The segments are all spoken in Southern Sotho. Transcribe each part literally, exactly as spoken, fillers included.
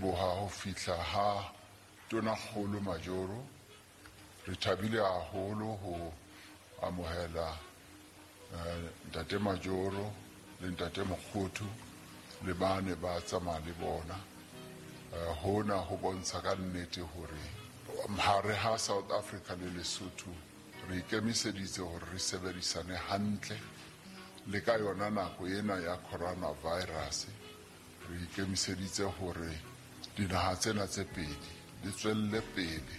leboha ho fihla ha Tonakgolo Majoro. Re thabile haholo ho amohela Ntate Majoro le Ntate Mokgothu le bane ba tsamaya le bona. Hona ho bontsha ka nnete hore hare ha South Africa le Lesotho re ikemiseditse hore re sebedisane hantle le ka yona nako ena ya coronavirus. Re ikemiseditse hore dinaha tsena tse pedi di tswelle pele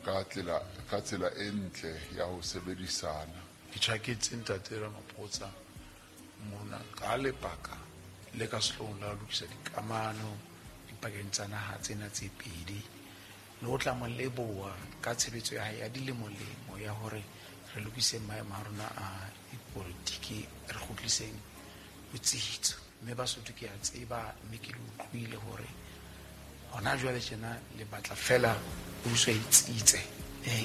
ka tsela ka tsela e ntle ya ho sebedisana. Ke tjhaketse Ntate Ramaphosa mona ka lebaka le ka sehloohong la ho lokisa dikamano dipakeng tsa naha tsena tse pedi, le ho tla mo leboha ka tshebetso ya hae ya dilemolemo ya hore re lokise maemo a rona a dipolitiki, re kgutliseng botsitso. Mme Basotho ke a tseba, mme ke le utlwile hore hona jwale tjena le batla fela puso e tsitse,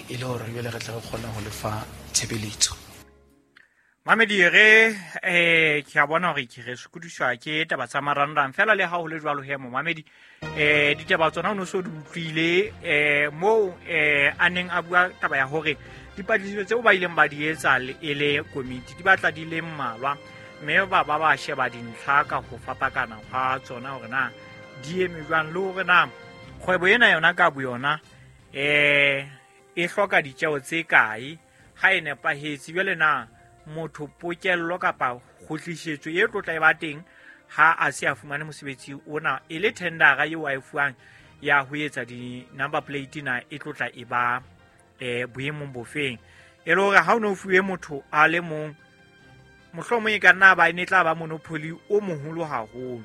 e le hore jwale re tle re kgone ho lefa tshebeletso. Mamedi re eh ke a bona hore ke re sokodiswa ke taba tsa marangrang fela le ha ho le jwalo he momamedi eh ditaba tsona o no so di utlwile eh moo eh a neng a bua taba ya hore dipatlisiso tseo ba ileng ba di etsa e le komiti di batla di le mmalwa, mme ba ba ba sheba dintlha ka ho fapakana hwa tsona hore na di eme jwang le hore na kgwebo ena yona ka boyona eh e hloka ditjeo tse kae ha e nepahetse. Jwale na motho pokello kapa kgutlisetso e tlotla e ba teng ha a se a fumane mosebetsi ona e le tendera eo a e fuwang ya ho etsa di-number plate na e tlotla e ba eh boemong bofeng, e le hore ha o no fuwe motho a le mong mohlomong e ka nna ba e ne tla ba monopoly o moholo haholo.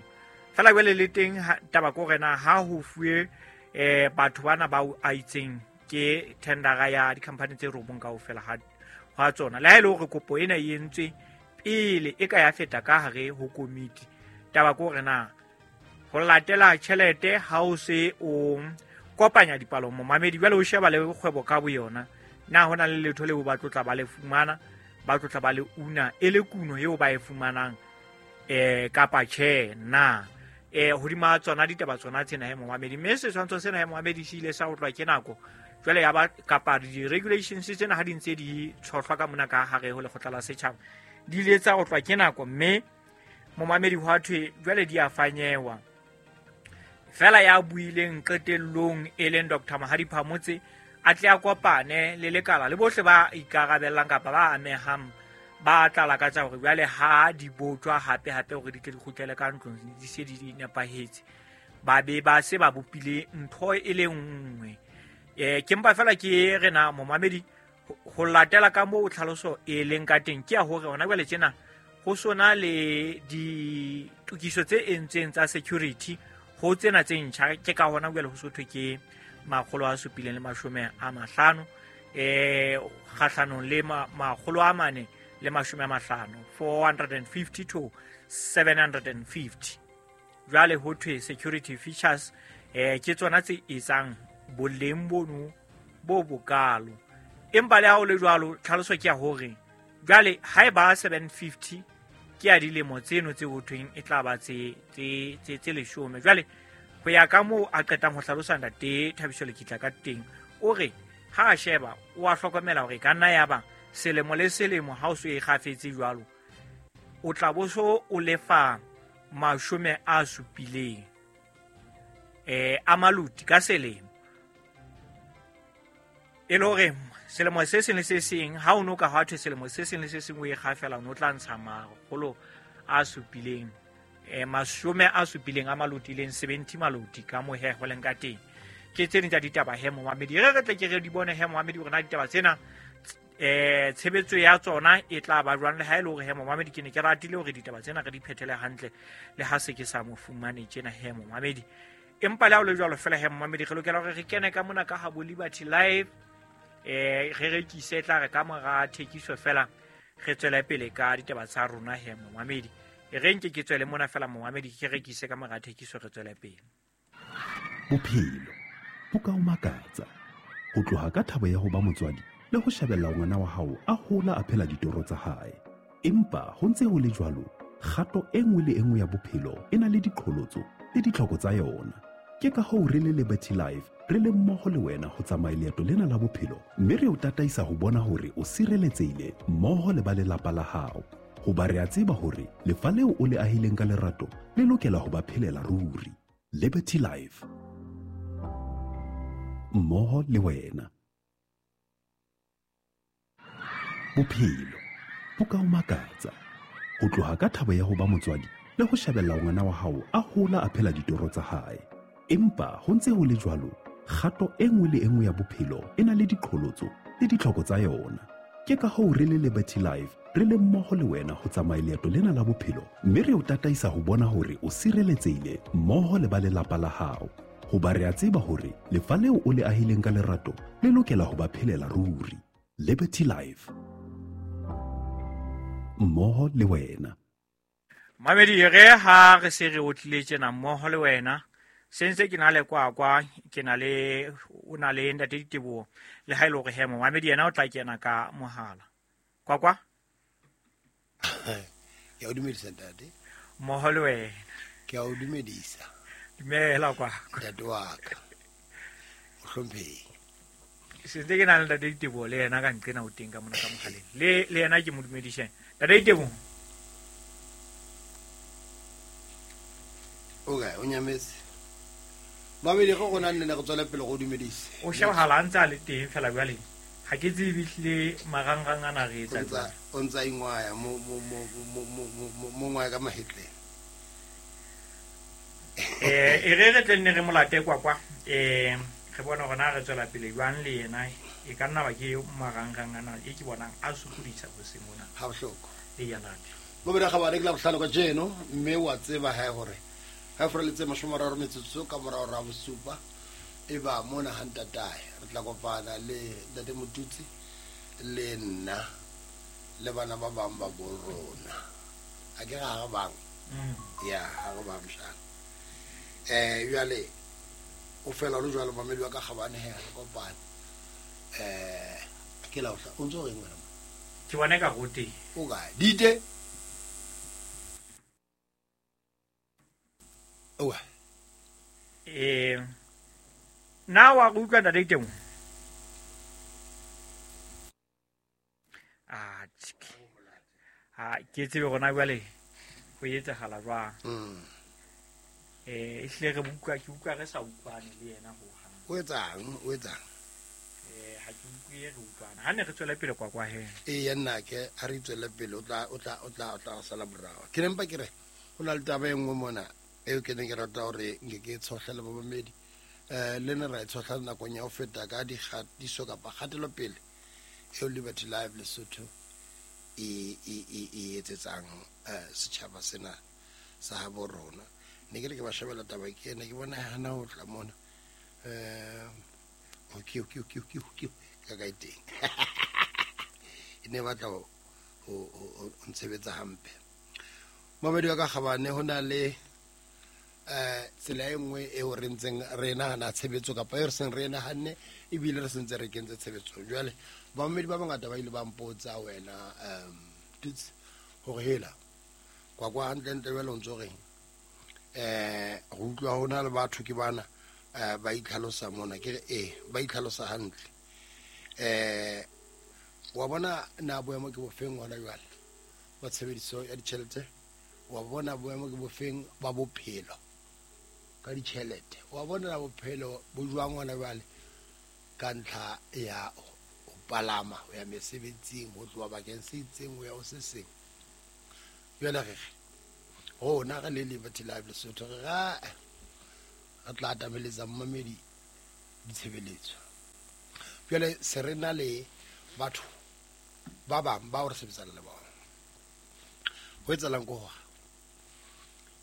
Fela jwale le teng taba ke hore na ha ho fuwe eh batho bana ba a itseng ke tendera ya di-company tse robong kaofela ha ha tsona, le ha e le hore kopo ena e entswe pele e ka ya feta ka hare ho komiti. Taba ke hore na ho latela tjhelete ha o se o kopanya dipalo momamedi, jwale o sheba le kgwebo ka boyona na hona le letho leo ba tlotla ba le fumana, ba tlotla ba le una e le kuno eo ba e fumanang eh kapa tjhe na eh hodima tsona ditaba tsona tsena he momamedi. Mme setshwantsho sena he momamedi se ile sa otlwa ke nako jwale ya ba kapa di-regulations tsena ha di ntse di tshohlwa ka mona ka hare ho lekgotla la setjhaba di ile tsa otlwa ke nako, mme momamedi hwa thwe jwale di a fanyewa. Fela ya buileng qetellong e leng Doctor Mahadi Phamotse a tle a kopane le lekala le bohle ba ikarabellang kapa ba amehang ba tla lakatsa hore jwale ha di botjwa hape hape hore di tle di kgutlele ka ntlong di se di nepahetse, ba be ba se ba bopile ntho e le nngwe. Eh ke mpa fela ke rena momamedi ho latela ka moo tlhaloso e leng ka teng ke ya hore hona jwale tjena ho sona le ditokiso tse entsweng tsa security ho tsena tse ntjha, ke ka hona jwale ho so thwe ke makgolo a supileng le mashome a mahlano eh kgahlanong le makgolo a mane le mashome a mahlano, four hundred fifty to seven hundred fifty. Jwale ho thwe security features eh ke tsona tse etsang boleng bono bo bokalo. Empa le ha ho le jwalo tlhaloso ke ya hore jwale ha e ba seven fifty ke ya dilemo tseno tse ho thweng e tla ba tse tse tse leshome. Jwale ho ya ka moo a qetang ho hlalosa Ntate Thabiso Lekitla ka teng, o re ha a sheba o a hlokomela hore ka nna ya ba selemo le selemo ha o so e kgafetse jwalo o tla bo so o lefa mashome a supileng eh a maluti ka selemo, e le hore selemo se seng le se seng ha o no ka hwa thwe selemo se seng le se seng o e kgafela o no tla ntsha makgolo a supileng eh mashome a supileng a maluti leng seventy maluti ka mo he ho leng ka teng. Ke tse ding tsa ditaba he momamedi, re re tle ke re di bone he momamedi hore na ditaba tsena eh tshebetso ya tsona e tla ba jwang, le ha e le hore he momamedi ke ne ke ratile hore ditaba tsena re di phethele hantle le ha se ke sa mo fumane tjena he momamedi. Empa le ha o le jwalo fela he momamedi re lokela hore re kene ka mona ka ha bo Liberty Live eh re rekise tla re ka mora thekiso fela re tswele pele ka ditaba tsa rona he momamedi. E re nke ke tswele mona fela momamedi ke rekise ka mora thekiso re tswele pele. Bophelo bo ka o makatsa ho tloha ka thabo ya ho ba motswadi le ho shebella ngwana wa hao a hola a phela ditoro tsa hae. Empa ho ntse ho le jwalo, kgato e nngwe le e nngwe ya bophelo e na le diqholotso le ditlhoko tsa yona. Ke ka hoo re le Liberty Life re le mmoho le wena ho tsamaya leeto lena la bophelo, mme re o tataisa ho bona hore o sireletsehile mmoho le ba lelapa la hao. Hoba re a tseba hore lefa leo o le ahileng ka lerato le lokela ho ba phelela ruri. Liberty Life, mmoho le wena. Bophelo bo ka o makatsa, ho tloha ka thabo ya ho ba motswadi le ho shebella ngwana wa hao a hola a phela ditoro tsa hae. Empa ho ntse ho le jwalo, kgato e nngwe le e nngwe ya bophelo e na le diqholotso le ditlhoko tsa yona. Ke ka hoo re le Liberty Life re le mmoho le wena ho tsamaya leeto lena la bophelo, mme re o tataisa ho bona hore o sireletsehile mmoho le ba lelapa la hao. Hoba re a tseba hore lefa leo o le ahileng ka lerato le lokela ho ba phelela ruri. Liberty Life, mmoho le wena. Mamedi, re ha re se re otlile tjena mmoho le wena, se ntse ke na le Kwakwa, ke na le o na le ntate Diteboho, le ha ile hore he momamedi yena o tla kena ka mohala. Kwakwa? Ke a o dumedisa ntate. Mmoho le wena. Ke a o dumedisa. Dumela Kwakwa. Ntate wa ka. O hlomphehi. Se ntse ke na le ntate Diteboho le yena ka nqena o teng ka mona ka mohaleng. Le le yena ke mo dumedise. Ntate Diteboho. O kae? O nyametse? Mamedi, go gona nne re tswela pele go dumedise. O shebahala a ntse a le teng fela jwale. Ha ke tsebe ehlile marangrang ana re etsa jwang. O ntsa ingwaya mo mo mo mo mo mo ngwaya ka mahetleng. Eh e re re tle nne re molate Kwakwa. Eh re bona hore na re tswela pele jwang le yena, e ka nna ba ke marangrang ana e ke bonang a sokodisa hoseng mona. Ha bohloko. E ya nate. Mo bera ga ba re ke la bohlano ka jeno, mme wa tseba hae hore ha freletse mashome a mararo metsotso ka morao ra bosupa e ba mona ha ntatae re tla kopana le ntate Motutsi le nna le bana ba bang ba bo rona. A ke ga ga bang ya ga go ba mshana eh jwale o fela lo jwalo mamedi wa ka gabane he re kopane eh ke la o ntso reng wena ke bona ka go teng o kae dite o eh na wa go utlwa ntate teng ah ha ke tsebe gona jwale go etsagala jwang mm eh e hle re utlwa ke utlwa re sa utlwane le yena ho hang o etsang o etsang eh ha ke utlwe re utlwana ha ne re tswela pele kwa kwa he e ya nna ke ha re tswela pele o tla o tla o tla o tla sala morao ke nempa ke re ho na le taba e nngwe mona eo ke neng ke rata hore nke ke tshohle le babamedi eh le ne ra e tshohla nakong ya ho feta ka dikgatiso kapa kgatelopele eo Liberty Life Lesotho e e e e etsetsang setjhaba sena sa habo rona. Ne ke re ke ba shebela taba ke ena ke bona hana ho tla mona eh okay okay okay okay okay ka ka teng e ne batla ho ho ntshebetsa hampe. Mamedi wa ka gabane ho na le eh tsela e nngwe eo re ntseng re nahana tshebetso kapa e re seng re nahanne ebile re sentse re kentse tshebetsong. Jwale bamamedi ba bangata ba ile ba mpotsa wena um Tuts hore hela kwa kwa hantlentle jwale o ntso reng eh go utlwa ho na le batho ke bana ba itlhalosa mona ke re eh ba itlhalosa hantle eh wa bona na boemo ke bofeng hona jwale ba tshebediso ya ditjhelete wa bona boemo ke bofeng ba bophelo ka ditjhelete wa bona na bophelo bo jwang hona jwale ka ntlha ya ho palama ho ya mesebetsing ho tloha bakeng se itseng ho ya ho se seng. Jwale re rona re le Liberty Life Lesotho re ra re tla atameletsa mmamedi ditshebeletso. Jwale se re na le batho ba bang bao re sebetsang le bona. Ho etsahalang ke hore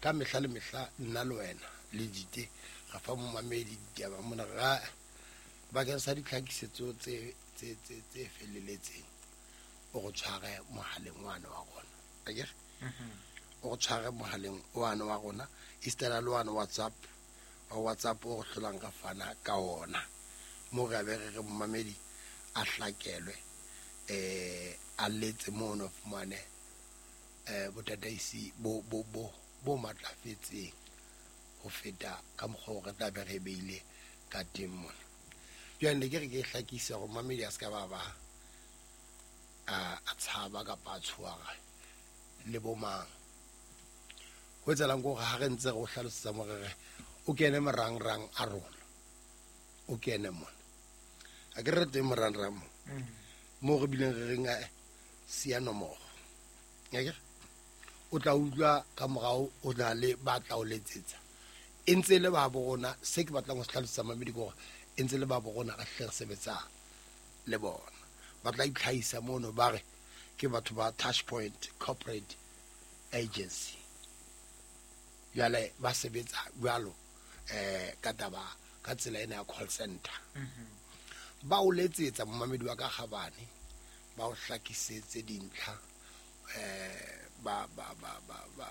ka mehla le mehla nna le wena le dite ra fa momamedi ditaba mona ra bakeng sa ditlhakisetso tse tse tse tse feleletseng o go tshware mohaleng wane wa rona akere o go tshware mohaleng wane wa rona istela le wane WhatsApp wa WhatsApp o go hlolang ka fana ka ona mo re be re re momamedi a hlakelwe eh a letse mono fumane eh botataisi bo bo bo bo matlafetseng ho feta ka mokgwa o re tla be re beile ka teng mona. Jwale ne ke re ke hlakise hore mamedi a se ka ba ba a a tshaba kapa a tshoha le bo mang. Ho etsahalang ke hore ha re ntse re o hlalosetsa mo re re o kene marangrang a rona, o kene mona. A ke re teng marangrang mo mo re bileng re reng a siya nomoro. Akere o tla utlwa ka morao o tla le ba tla o letsetsa. E ntse le ba bo rona, se ke batlang ho se hlalosetsa mamedi ke hore e ntse le ba bo rona re hle re sebetsa le bona. Ba tla itlhahisa mono ba re ke batho ba Touch Point Corporate Agency. Jwale ba sebetsa jwalo eh ka taba ka tsela ena ya call center. Ba o letsetsa momamedi wa ka kgabane, ba o hlakisetse dintlha, eh ba ba ba ba ba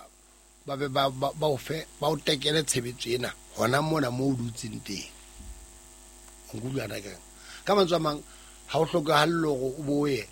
ba be ba ba ba o fe ba o tekele tshebetso ena hona mona mo o dutseng teng. O nkutlwa na keng? Ka mantswe a mang ha o hlokahale hore o boye